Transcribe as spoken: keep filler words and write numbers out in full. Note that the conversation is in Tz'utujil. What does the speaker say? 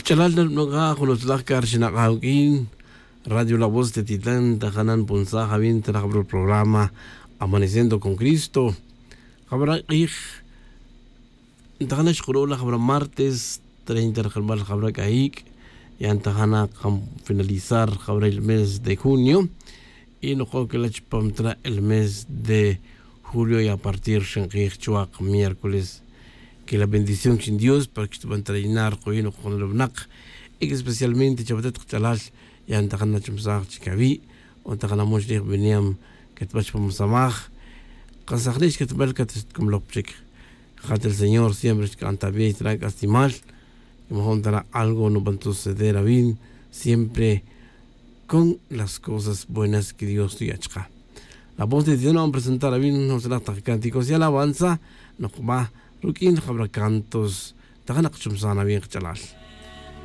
Ch'alal na nb'an qa jun utzilaj k'a ri xinaq'a' awuk'in radio la voz de titan ta jana' npunsaj awin ta rajab'al programa amaneciendo con cristo. Jab'al q'ij nta jana' xqaru' la jab'al martes treinta rajab'al jab'al k'ayik'. Ya nta jana' qan finalizar jab'al el mes de junio. Y noq'o' kela' chupam ta la el mes de julio y a partir xinq'ij chuwaq miércoles. Que la bendición xin dios para que xtub'an ta la yinar qoyin oqon la winaq. Y que especialmente chawatet qach'alal ya nta jana' chumsaj chik awi'. O nta jana' mox rij b'iniyam ketb'al chupam samaj. Qasajnej xketb'al katkomloj chik. Jat el señor siempre xk'an ta b'ey ta la k'aslimal. Y majun ta la algo nub'an suceder awin siempre con las cosas buenas que dios tuya' chaqe. La voz de dios nub'an presentar awin jun utzilaj taq cánticos y alabanza. Noqb'a ruk'in jab'ra cantos ta jana' qachumsan awin qach'alal.